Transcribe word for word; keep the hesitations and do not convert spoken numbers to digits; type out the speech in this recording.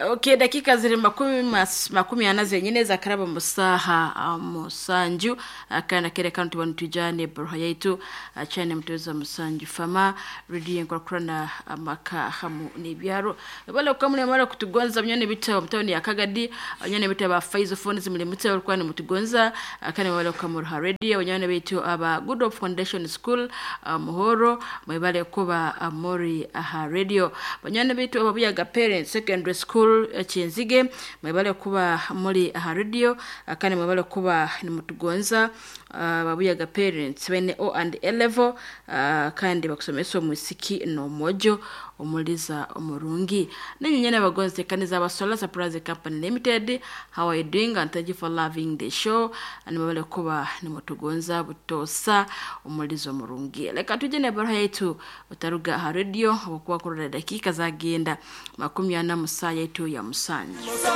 Okay, dakika ziri makumi, mas, makumi ana zenyine zakaraba musaha ah, musanju. Akana kere kanu tubanu tujane baruha yaitu achane mtuweza musanju fama redio nkurakurana amaka hamu n'ibyaro bale ukamule mara kutugonza mnyone bita mtoni ya Kagadi, nyone bita ba Faizo Phones mule mute walikuwa ni mutugonza akane wale ukamura radio nyone bitu aba Good Hope Foundation School uh, Muhoro mwebale kuba amori aha radio banyone bitu aba Buyaga Parents Secondary School eh, Kinzige mwebale kuba muri aha radio akane mwebale kuba ni mutugonza uh, babuyaga parents bene O and A level uh, kandi bakusomesa omusiki n'omwojo omuliza omurungi nenye nyene abagonzi kaniza abasola Surprise Company Limited. How are you doing? And thank you for loving the show. And mwebale kuba ni mutugonza butosa omuliza omurungi. Leka tuje ne baruha yetu utaruga aha radio okuwa kurora dakika zagenda makumi ana musaa yetu ya musanju.